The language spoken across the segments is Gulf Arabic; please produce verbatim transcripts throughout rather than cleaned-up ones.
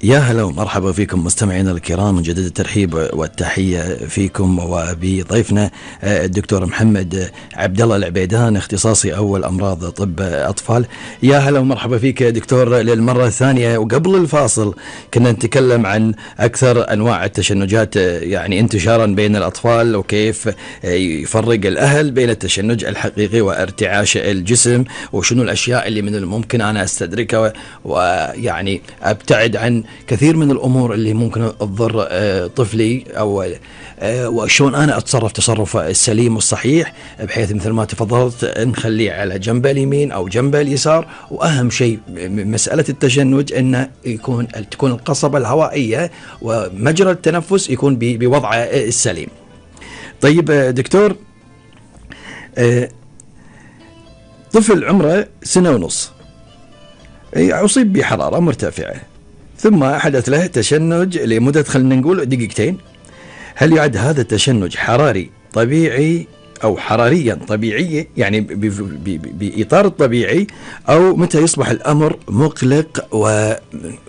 يا هلا ومرحبا فيكم مستمعينا الكرام، نجدد الترحيب والتحية فيكم وبضيفنا الدكتور محمد عبد الله العبيدان، اختصاصي أول أمراض طب أطفال. يا هلا ومرحبا فيك دكتور للمرة الثانية. وقبل الفاصل كنا نتكلم عن أكثر أنواع التشنجات يعني انتشارا بين الأطفال، وكيف يفرق الأهل بين التشنج الحقيقي وارتعاش الجسم، وشنو الأشياء اللي من الممكن أنا أستدركها ويعني أبتعد عن كثير من الأمور اللي ممكن تضر طفلي، أو وشون أنا أتصرف تصرف السليم والصحيح، بحيث مثل ما تفضلت نخليه على جنبه اليمين أو جنبه اليسار. وأهم شيء مسألة التشنج أنه يكون تكون القصبة الهوائية ومجرى التنفس يكون بوضعه السليم. طيب دكتور، طفل عمره سنة ونص أصيب بحرارة مرتفعة، ثم حدث له تشنج لمدة خلينا نقول دقيقتين. هل يعد هذا التشنج حراري طبيعي أو حراريا طبيعي يعني بإطار الطبيعي، أو متى يصبح الأمر مقلق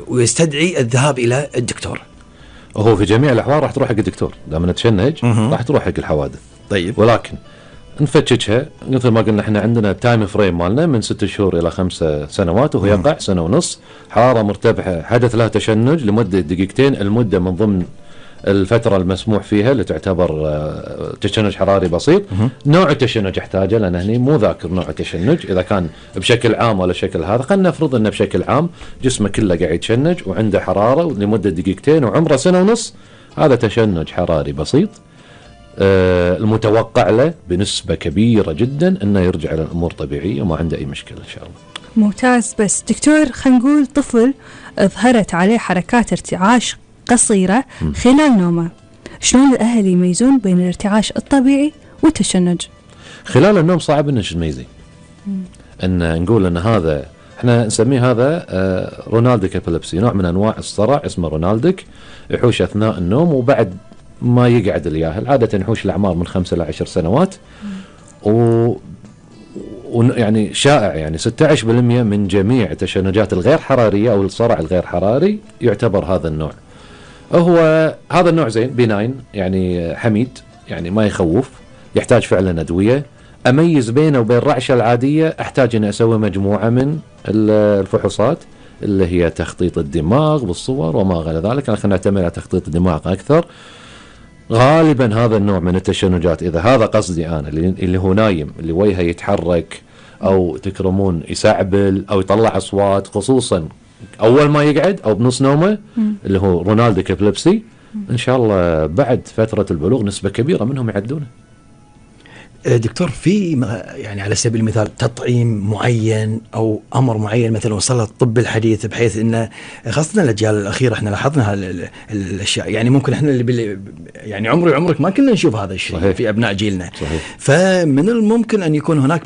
ويستدعي الذهاب إلى الدكتور؟ هو في جميع الأحوال راح تروح حق الدكتور، دام نتشنج راح تروح حق الحوادث. طيب، ولكن نفتشها مثل ما قلنا احنا عندنا تايم فريم مالنا من ست شهور الى خمسة سنوات، وهو يقع سنه ونص. حراره مرتفعه حدث لها تشنج لمده دقيقتين، المده من ضمن الفتره المسموح فيها اللي تعتبر تشنج حراري بسيط. نوع التشنج احتاجه، لان هني مو ذاكر نوع التشنج اذا كان بشكل عام ولا شكل هذا. خلينا نفرض انه بشكل عام جسمه كله قاعد يتشنج وعنده حراره لمده دقيقتين وعمره سنه ونص، هذا تشنج حراري بسيط. آه المتوقع له بنسبة كبيرة جدا أنه يرجع للأمور طبيعية وما عنده أي مشكلة إن شاء الله. ممتاز. بس دكتور، خلينا نقول طفل ظهرت عليه حركات ارتعاش قصيرة خلال نومه، شلون الأهل يميزون بين الارتعاش الطبيعي والتشنج؟ خلال النوم صعب أن نميزه، أن نقول أن هذا احنا نسميه هذا آه رونالديك ابيليبسي، نوع من أنواع الصرع اسمه رونالديك، يحوش أثناء النوم وبعد ما يقعد الياهل. عادة يحوش الأعمار من خمسة إلى عشر سنوات، و ويعني شائع يعني ستة عشر بالمئة من جميع التشنجات الغير حرارية أو الصرع الغير حراري يعتبر هذا النوع. هو هذا النوع زين بيناين يعني حميد، يعني ما يخوف، يحتاج فعلا أدوية. أميز بينه وبين الرعشة العادية أحتاج أن أسوي مجموعة من الفحوصات اللي هي تخطيط الدماغ بالصور وما غير ذلك. خلينا نعتمد على تخطيط الدماغ أكثر. غالبا هذا النوع من التشنجات، إذا هذا قصدي أنا اللي هو نايم، اللي وجهه يتحرك أو تكرمون يسعبل أو يطلع أصوات، خصوصا أول ما يقعد أو بنص نومه، اللي هو رونالديك ابيليبسي، إن شاء الله بعد فترة البلوغ نسبة كبيرة منهم يعدونه. دكتور، في يعني على سبيل المثال تطعيم معين أو أمر معين مثلا وصل الطب الحديث، بحيث إنه خاصة الأجيال الأخيرة احنا لاحظنا الأشياء، يعني ممكن احنا اللي يعني عمري عمرك ما كنا نشوف هذا الشيء في أبناء جيلنا. صحيح. فمن الممكن أن يكون هناك